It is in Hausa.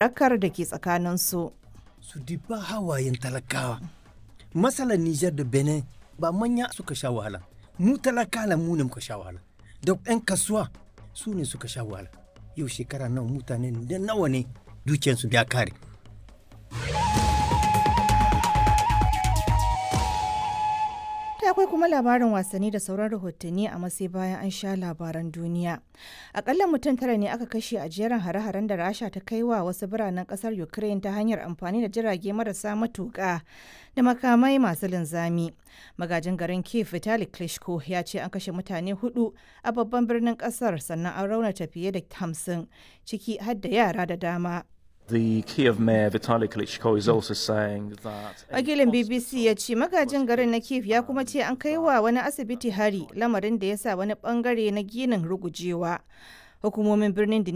Barakar da ke tsakaninsu. Su diba hawayen talakawa. Matsalar Nijar da Benin ba manya suka sha wahala. Mu talakawa mu ne muka sha wahala. Da 'yan kasuwa su ne suka sha wahala. Yau shekara nawa mutane da nawa ne dukiyarsu ya kare. Ta akwai kuma labarin wasanni da sauran rahotanni a matsayi bayan an sha labaran duniya. Akalla mutum tara ne aka kashe a jerin hare-haren da Rasha ta kai wa wasu biranen kasar Ukraine ta hanyar amfani da jirage marasa matuƙa da makamai masu linzami. Magajin garin Kiev Vitali Klitschko ya ce an kashe mutane hudu a babban birnin kasar, sannan an raunata fiye da 50, ciki har da yara da dama. The Kiev mayor Vitaly Klitschko is also saying that Wakilin BBC ya ce magajin garin na Kiev ya kuma ce an kai wa wani asibiti hari, lamarin da ya sa wani bangare na ginin rugujewa. Hukumomin birnin